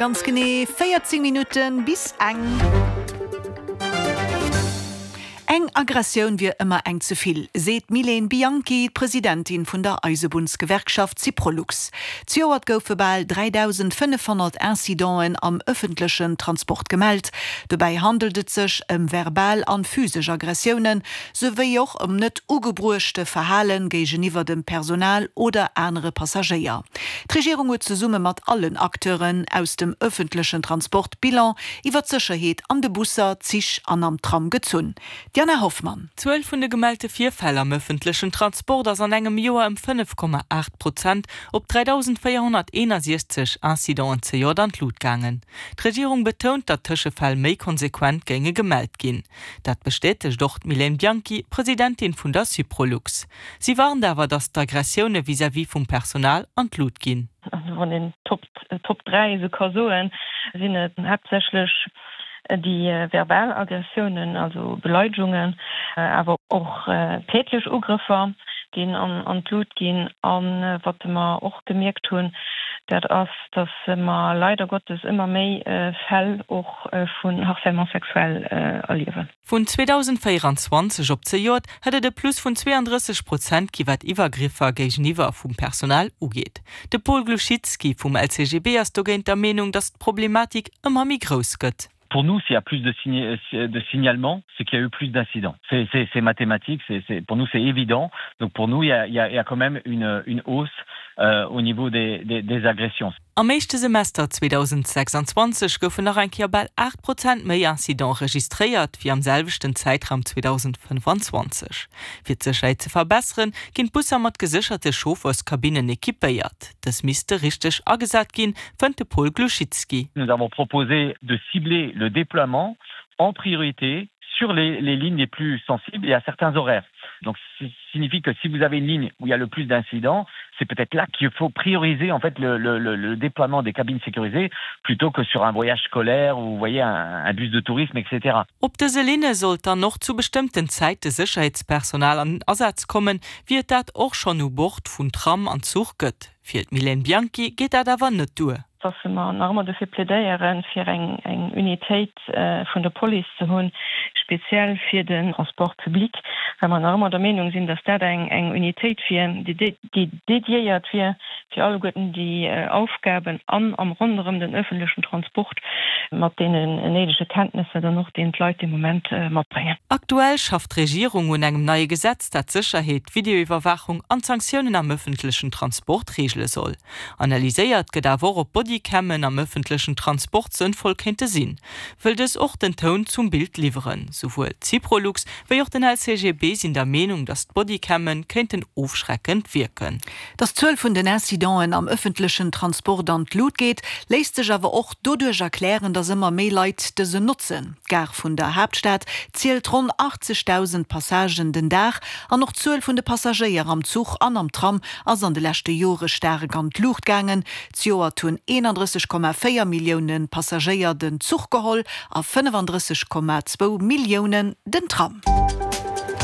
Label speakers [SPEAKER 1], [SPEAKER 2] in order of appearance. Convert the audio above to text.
[SPEAKER 1] Ganz genee 14 Minutten bis eng. Eng Aggressioun wier ëmmer eng ze vill, seet d'Mylène Bianchy, d'Presidentin vun der Eisebunnsgewerkschaft Syprolux. Zejoert goufe bal 3.500 Incidenten am ëffentlechen Transport gemellt. Dobäi handelt et sech ëm verbal an physesch Aggressiounen, souwéi och ëm net ugebruechte Verhale géigeniwwer dem Personal oder anere Passagéier. D'Regierung huet zesumme mat allen Acteuren aus dem ëffentlechen Transport Bilan iwwer d'Sécherheet an de Busser, Zich an am Tram gezunn. D'Jana Hoffmann.
[SPEAKER 2] D'Zuel vun de gemellte Virfäll am ëffentlechen Transport ass an engem Joer ëm 5,8 Prozent op 3.461 Incidenten zejoert an d'Lut gaangen. D'Regierung betount, datt Tëschefäll méi konsequent géinge gemellt ginn. Dat bestätegt och d'Mylène Bianchy, Presidentin vun der Syprolux. Si warnt awer, datt d'Aggressioune vis-à-vis vum Personal an d'Lut ginn.
[SPEAKER 3] Also wann een d'Top Top 3 esou ka soen, sinn et haaptsächlech déi verbal Aggressiounen, also Beleidegungen, awer och tätlech Ugrëffer, déi an d'Lut ginn. A wat mer och gemierkt hunn, dat ass, datt mer leider Gottes ëmmer méi Fäll och vun Harcèlement sexuel erliewen.
[SPEAKER 2] Vun 2024 op zejoert hätt et e Plus vun 32 Prozent gi wat Iwwergriffer géigeniwwer vum Personal ugeet. De Paul Glouchitski vum LCGB ass dogéint der Meenung, datt d'Problematik ëmmer méi grouss gëtt.
[SPEAKER 4] Pour nous, s'il y a plus de de signalements, c'est qu'il y a eu plus d'incidents. C'est c'est c'est mathématique, c'est c'est pour nous c'est évident. Donc pour nous il y a il y a il y a quand même une une hausse euh au niveau des des des agressions.
[SPEAKER 2] Am éischte Semester 2026 goufen nach eng Kéier bal 8 Prozent méi Incidente registréiert, wéi am selwechten Zäitraum 2025. Fir d'Sécherheet ze verbesseren, ginn d'Busser mat gesécherte Chaufferskabinnen equipéiert. Dës misste richteg agesat ginn, fënnt de Paul Glouchitski.
[SPEAKER 4] Nous avons proposé de cibler le déploiement en priorité sur les les lignes les plus sensibles et à certains horaires. Donc signifie que si vous avez une ligne où il y a le plus d'incidents, c'est peut-être là qu'il faut prioriser en fait le, le, le, le déploiement des cabines sécurisées plutôt que sur un voyage scolaire ou vous voyez un, un bus de tourisme etc.
[SPEAKER 2] Op dëse Linne sollt dann och zu bestëmmten Zäite Sécherheetspersonal an den Asaz kommen, wéi et dat och schonn u Bord vun Tram an Zuch gëtt. Fir d'Mylène Bianchy geet dat awer net duer.
[SPEAKER 3] Dass mer nach ëmmer dofir plädéieren, fir eng Unitéit vun der Police ze hunn, speziell fir den Transport public, well mer nach ëmmer der Meenung sinn, dass dat eng Unitéit wier, déi dédiéiert wier fir alleguerten déi Aufgaben an am ronderëm den öffentlechen Transport mat deenen néidege Kenntnesser dann och, deen d'Leit dee Moment matbréngen.
[SPEAKER 2] Aktuell schafft d'Regierung un engem neie Gesetz, dat d'Sécherheet, d'Videoiwwerwaachung an d'Sanktiounen am ëffentlechen Transport reegele soll. Analyséiert gëtt awer och, ob Bodycammen am ëffentlechen Transport sënnvoll kéinte sinn, wëll dës och den Toun zum Bild liwweren. Souwuel d'Syprolux wéi och den LCGB sinn der Meenung, datt d'Bodycammen kéinten ofschreckend wierken.
[SPEAKER 1] Datt d'Zuel vun den Incidenten am ëffentlechen Transport an d'Lut geet, léisst sech awer och doduerch erklären, datt ëmmer méi Leit dësen notzen. D'Gare vun der Haaptstad zielt ronn 80.000 Passagen den Dag an och d'Zuel vun de Passagéier am Zuch an am Tram ass an de leschte Jore staark an d'Luucht gaangen. Zejoert hunn 31,4 Millioune Passagéier den Zuch geholl a 35,2 Milliounen den Tram.